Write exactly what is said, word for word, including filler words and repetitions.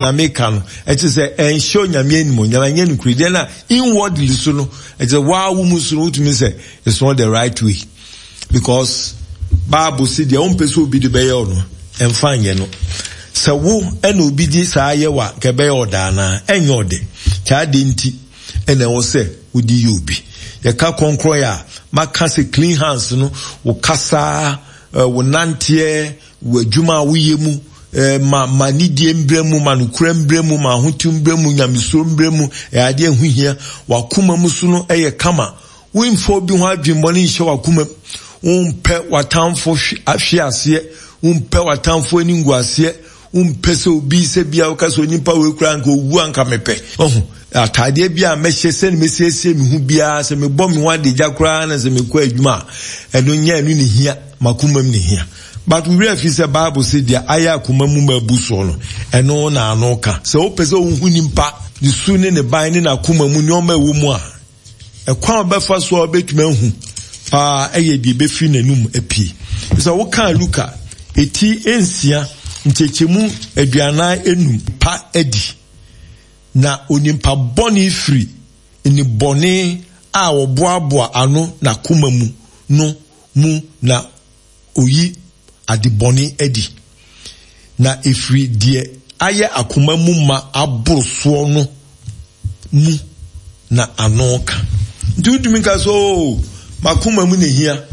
Na meka no, ɛkyerɛ sɛ ɛnhyɛ Onyame animuonyam, ɛnyɛ nokorɛdie. Na inwardly so no, ɛkyerɛ sɛ waa wo mu so no, wotumi sɛ it's not the right way. Because Bible si deɛ wompɛ sɛ obi de bɛyɛ wo no, ɛmfa nyɛ no. Sɛ wo ɛna obi de saa yɛ wa, nka ɛbɛyɛ ɔda anaa? Ɛnyɛ ɔdɛ. Kyɛ adeɛ nti ɛna ɛwɔ sɛ wode yɛ obi. Yɛka kɔnkrɔn a, maka sɛ clean hands no, wo kasa, wo nanteɛ, wo adwuma a woyɛ mu, ma ma nidie mbrɛ mu, ma nokora mbrɛ mu, ma ahotew mbrɛ mu, nyamesuro mbrɛ mu, ɛyɛ adeɛ ɛho hia. Wakoma mu so no ɛyɛ kama. Womfa obi ho adwemmɔne nhyɛ wakoma mu. Wompɛ w'atamfo hwe aseɛ, wompɛ w'atamfo ani ngu aseɛ, wompɛ sɛ obi sɛ bia woka sɛ onipa wei koraa nka owu anka mepɛ. Ɔho, ataadeɛ bi a mɛhyɛ sɛ ne mesiesie me ho biara, sɛ mebɔ me ho adagya koraa na sɛ mekɔ adwuma a, ɛno nyɛ ɛno ne hia, makoma mu ne hia. But we afi sɛ Bible sɛ deɛ ayɛ akoma mu ma abu soɔ no, ɛno na ano ka. Sɛ wopɛ sɛ wohu nipa ne su ne ne ban ne n'akoma mu nneɛma ɛwɔ mu a, ɛkwan a wobɛfa so a wobɛtumi ahu paa ɛyɛ deɛ ɛbɛfiri n'anum apue. Sɛ wokaa Luka eti nsia nkyɛkyɛmu aduanan enum pa adi, na onimpa bɔne firi nnebɔne a wɔboaboa ano n'akoma mu no mu na oyi adebɔne adi. Na efiri deɛ ayɛ akoma mu ma aboro soɔ no mu na ano ka. Nti wotumi nka sɛ, oo, makoma mu na ehia.